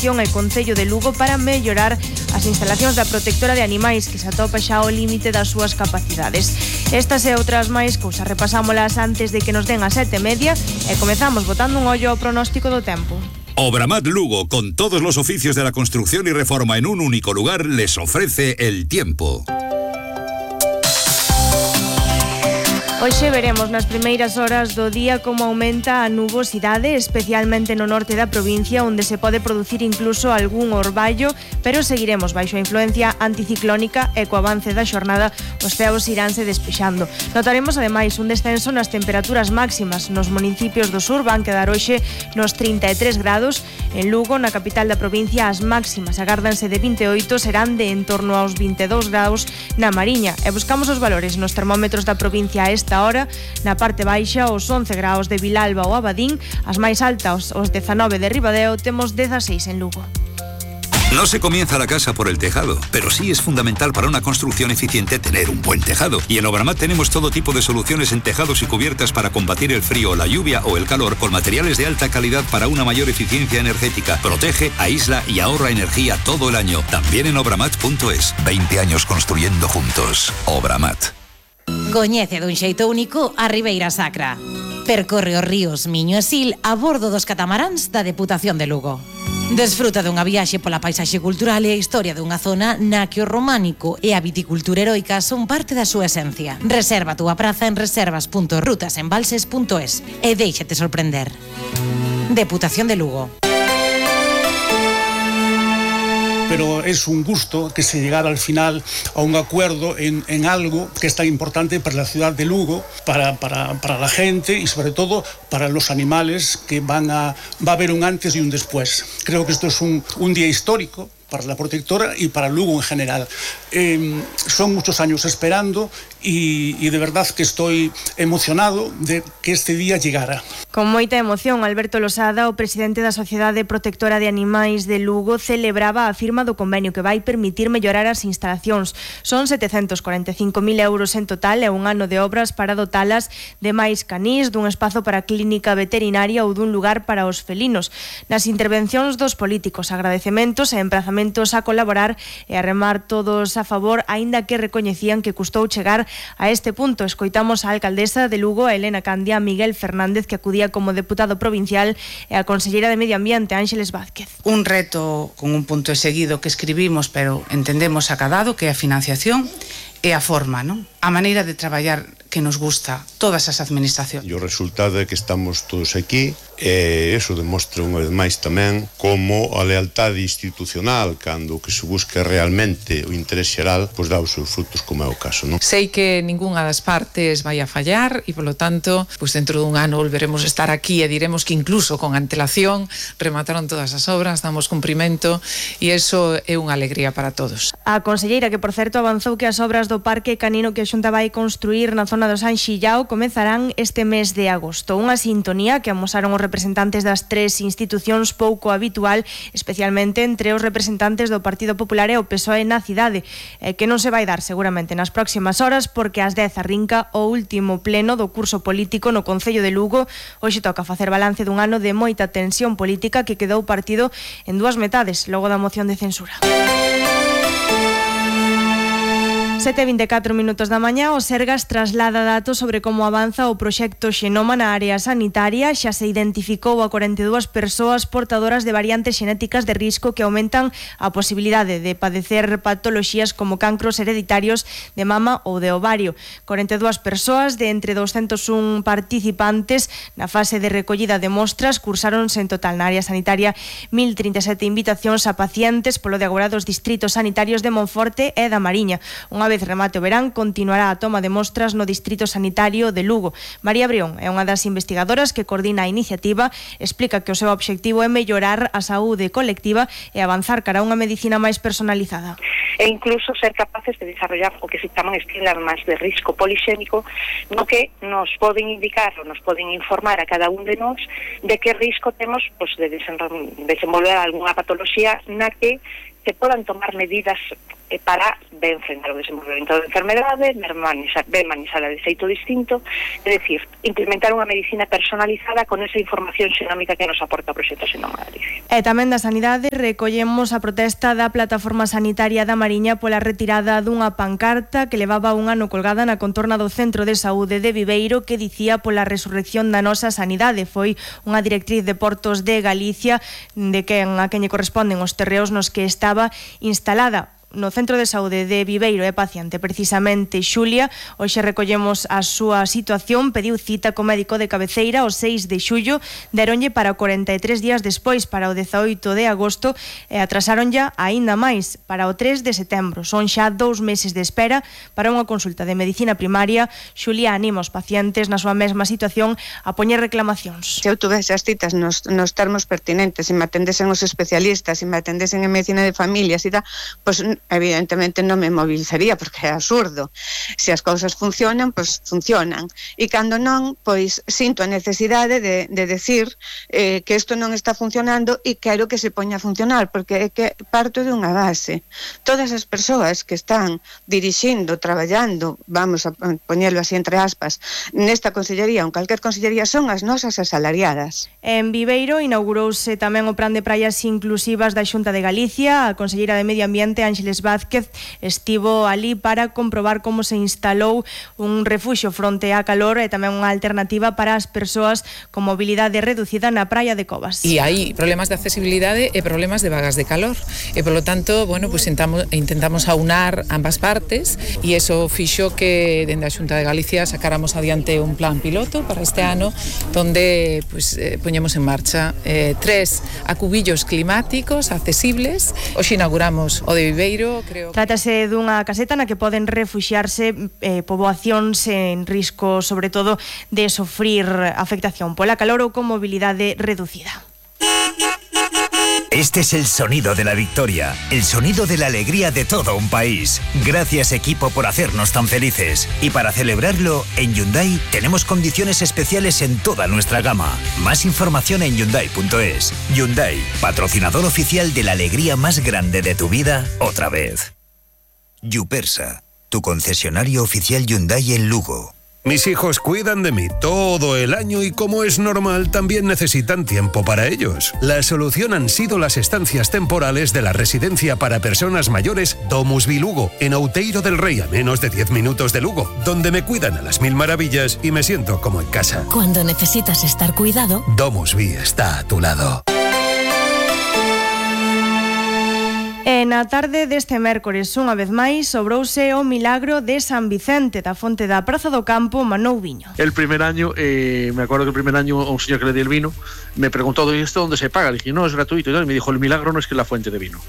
Diputación e Concello de Lugo para mellorar as instalacións da protectora de animais que se atopa xa ao límite das súas capacidades. Estas e outras máis cousas repasámolas antes de que nos den as 7:30 e comezamos botando un ollo ao pronóstico do tempo. Obramat Lugo, con todos los oficios de la construcción y reforma en un único lugar, les ofrece el tiempo. Hoxe veremos nas primeiras horas do día como aumenta a nubosidade, especialmente no norte da provincia, onde se pode producir incluso algún orballo, pero seguiremos baixo a influencia anticiclónica e co avance da xornada os ceos iránse despexando. Notaremos ademais un descenso nas temperaturas máximas. Nos municipios do sur van quedar hoxe nos 33 grados. En Lugo, na capital da provincia, as máximas agárdanse de 28, serán de en torno aos 22 graus na Mariña. E buscamos os valores nos termómetros da provincia a esta hora. Na parte baixa, os 11 graus de Vilalba ou Abadín, as máis altas, os 19 de Ribadeo, temos 16 en Lugo. No se comienza la casa por el tejado, pero sí es fundamental para una construcción eficiente tener un buen tejado. Y en Obramat tenemos todo tipo de soluciones en tejados y cubiertas para combatir el frío, la lluvia o el calor, con materiales de alta calidad para una mayor eficiencia energética. Protege, aísla y ahorra energía todo el año. También en obramat.es. 20 años construyendo juntos. Obramat. Coñece dun xeito único a Ribeira Sacra. Percorre os ríos Miño e Sil a bordo dos catamaráns da Deputación de Lugo. Desfruta dunha viaxe pola paisaxe cultural e a historia dunha zona na que o románico e a viticultura heroica son parte da súa esencia. Reserva a túa praza en reservas.rutasembalses.es e déixate sorprender. Deputación de Lugo. Pero es un gusto que se llegara al final a un acuerdo en algo que es tan importante para la ciudad de Lugo, para la gente y sobre todo para los animales, que va a haber un antes y un después. Creo que esto es un día histórico para la protectora y para Lugo en general. Son muchos años esperando y de verdad que estoy emocionado de que este día llegara. Con moita emoción, Alberto Losada, o presidente da Sociedade Protectora de Animais de Lugo, celebraba a firma do convenio que vai permitir mellorar as instalacións. Son 745.000 euros en total e un ano de obras para dotalas de máis canís, dun espazo para clínica veterinaria ou dun lugar para os felinos. Nas intervencións dos políticos, agradecementos e emprazamentos a colaborar e a remar todos a favor, aínda que recoñecían que custou chegar a este punto. Escoitamos a alcaldesa de Lugo, a Elena Candia, a Miguel Fernández, que acudía como deputado provincial, e a conselleira de Medio Ambiente, Ángeles Vázquez. Un reto con un punto seguido que escribimos, pero entendemos acadado, que é a financiación e a forma, non? A maneira de traballar que nos gusta todas as administracións. E o resultado é que estamos todos aquí e eso demostra unha vez máis tamén como a lealtade institucional, cando o que se busca realmente o interés xeral, pois dá os seus frutos, como é o caso, non? Sei que ningunha das partes vai a fallar e, polo tanto, pois dentro dun ano volveremos a estar aquí e diremos que incluso con antelación remataron todas as obras, damos cumprimento e eso é unha alegría para todos. A conselleira, que por certo avanzou que as obras do Parque Canino que a Xunta vai construir na zona do San Xillao comezarán este mes de agosto. Unha sintonía que amosaron os representantes das tres institucións pouco habitual, especialmente entre os representantes do Partido Popular e o PSOE na cidade, que non se vai dar seguramente nas próximas horas, porque ás 10 arrinca o último pleno do curso político no Concello de Lugo. Hoxe toca facer balance dun ano de moita tensión política que quedou partido en dúas metades logo da moción de censura. 7:24 minutos da mañá, o Sergas traslada datos sobre como avanza o proxecto Xenoma na área sanitaria. Xa se identificou a 42 persoas portadoras de variantes xenéticas de risco que aumentan a posibilidade de padecer patoloxías como cancros hereditarios de mama ou de ovario. 42 persoas de entre 201 participantes na fase de recollida de mostras cursáronse en total na área sanitaria 1037 invitacións a pacientes polo de agora dos distritos sanitarios de Monforte e da Mariña. Unha vez remate o verán, continuará a toma de mostras no Distrito Sanitario de Lugo. María Brión é unha das investigadoras que coordina a iniciativa, explica que o seu obxectivo é mellorar a saúde colectiva e avanzar cara a unha medicina máis personalizada. E incluso ser capaces de desarrollar o que se chaman esquemas de risco polixémico, no que nos poden indicar ou nos poden informar a cada un de nós de que risco temos de desenvolver algunha patoloxía na que se podan tomar medidas para ben frenar o desenvolvemento da enfermedade, ben manexala de xeito distinto, é dicir, implementar unha medicina personalizada con esa información xenómica que nos aporta o proxecto Xenoma Galicia. E tamén da Sanidade recollemos a protesta da Plataforma Sanitaria da Mariña pola retirada dunha pancarta que levaba un ano colgada na contorna do Centro de Saúde de Viveiro que dicía pola resurrección da nosa sanidade. Foi unha directriz de Portos de Galicia de a quen lle corresponden os terreos nos que estaba instalada. No Centro de Saúde de Viveiro é paciente precisamente Xulia. Hoxe recollemos a súa situación, pediu cita co médico de cabeceira o 6 de xullo, deronlle para 43 días despois, para o 18 de agosto, e atrasaron ya aínda máis para o 3 de setembro. Son xa 2 meses de espera para unha consulta de medicina primaria. Xulia anima os pacientes na súa mesma situación a poñer reclamacións. Se eu tuvese as citas nos termos pertinentes, se me atendesen os especialistas, se me atendesen en medicina de familias e tal, pois evidentemente non me movilizaría porque é absurdo. Se as cousas funcionan, pois funcionan. E cando non, pois sinto a necesidade de decir que isto non está funcionando e quero que se poña a funcionar, porque é que parto de unha base. Todas as persoas que están dirixindo, traballando, vamos a poñelo así entre aspas, nesta consellería ou en calquer consellería son as nosas asalariadas. En Viveiro inaugurouse tamén o Plan de Praias Inclusivas da Xunta de Galicia. A conselleira de Medio Ambiente, Ángeles Vázquez, estivo ali para comprobar como se instalou un refuxio fronte á calor e tamén unha alternativa para as persoas con mobilidade reducida na praia de Covas. E hai problemas de accesibilidade e problemas de vagas de calor. E, polo tanto, bueno, pues intentamos aunar ambas partes e eso fixo que dende a Xunta de Galicia sacáramos adiante un plan piloto para este ano donde pues, poñemos en marcha 3 acubillos climáticos accesibles. Hoxe inauguramos o de Viveiro. Trátase dunha caseta na que poden refuxiarse poboacións en risco, sobre todo, de sofrir afectación pola calor ou con mobilidade reducida. Este es el sonido de la victoria, el sonido de la alegría de todo un país. Gracias, equipo, por hacernos tan felices. Y para celebrarlo, en Hyundai tenemos condiciones especiales en toda nuestra gama. Más información en Hyundai.es. Hyundai, patrocinador oficial de la alegría más grande de tu vida, otra vez. Yupersa, tu concesionario oficial Hyundai en Lugo. Mis hijos cuidan de mí todo el año y, como es normal, también necesitan tiempo para ellos. La solución han sido las estancias temporales de la residencia para personas mayores Domusvi Lugo, en Outeiro del Rey, a menos de 10 minutos de Lugo, donde me cuidan a las mil maravillas y me siento como en casa. Cuando necesitas estar cuidado, Domusvi está a tu lado. E na tarde deste mércores, unha vez máis, sobrouse o milagro de San Vicente, da fonte da Praza do Campo, Manou Viño. El primer año, me acuerdo que el primer año un señor que le di el vino me preguntó, ¿y esto dónde se paga? Le dije, no, es gratuito. Y me dijo, el milagro no es que la fuente de vino.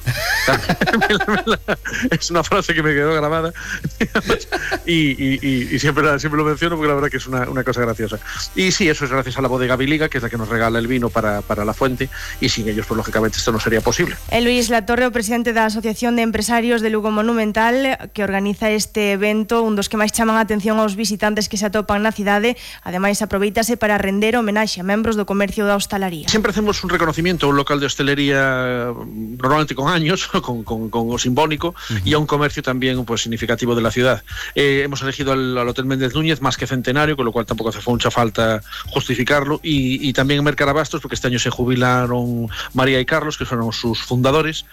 Es una frase que me quedó grabada y siempre lo menciono porque la verdad que es una cosa graciosa. Y sí, eso es gracias a la bodega Biliga, que es la que nos regala el vino para la fuente, y sin ellos, pues lógicamente esto no sería posible. Luis Latorre, o presidente da Asociación de Empresarios de Lugo Monumental, que organiza este evento, un dos que máis chaman a atención aos visitantes que se atopan na cidade. Ademais, aproveítase para render homenaxe a membros do comercio da hostalaría. Siempre hacemos un reconocimiento a un local de hostelería, normalmente con años, con simbólico, y a un comercio también pues significativo de la ciudad. Hemos elegido al Hotel Méndez Núñez, más que centenario, con lo cual tampoco hace mucha falta justificarlo, y también en Mercarabastos, porque este año se jubilaron María y Carlos, que fueron sus fundadores.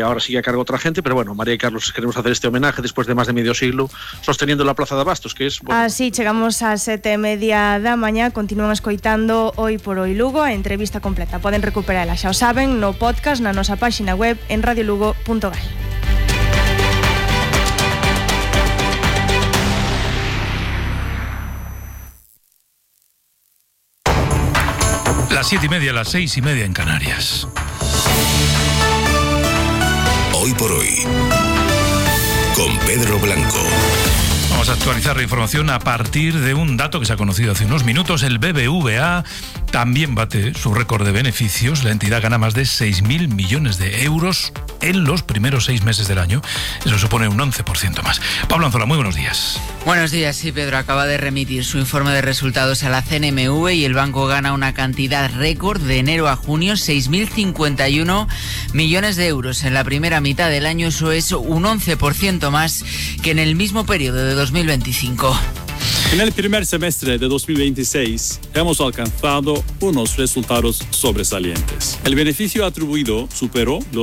Ahora sigue a cargo otra gente, pero bueno, María y Carlos queremos hacer este homenaje después de más de medio siglo sosteniendo la Plaza de Abastos, que es... Bueno, así chegamos a 7:30 da mañá. Continúan escoitando Hoy por Hoy Lugo. A entrevista completa poden recuperala, xa o saben, no podcast na nosa páxina web en radiolugo.gal. Las 7:30, las 6:30 en Canarias. Hoy por Hoy, con Pedro Blanco. Vamos a actualizar la información a partir de un dato que se ha conocido hace unos minutos. El BBVA también bate su récord de beneficios. La entidad gana más de 6.000 millones de euros en los primeros 6 meses del año. Eso supone un 11% más. Pablo Anzola, muy buenos días. Buenos días, sí, Pedro. Acaba de remitir su informe de resultados a la CNMV y el banco gana una cantidad récord de enero a junio, 6.051 millones de euros. En la primera mitad del año eso es un 11% más que en el mismo periodo de 2025. En el primer semestre de 2026 hemos alcanzado unos resultados sobresalientes. El beneficio atribuido superó los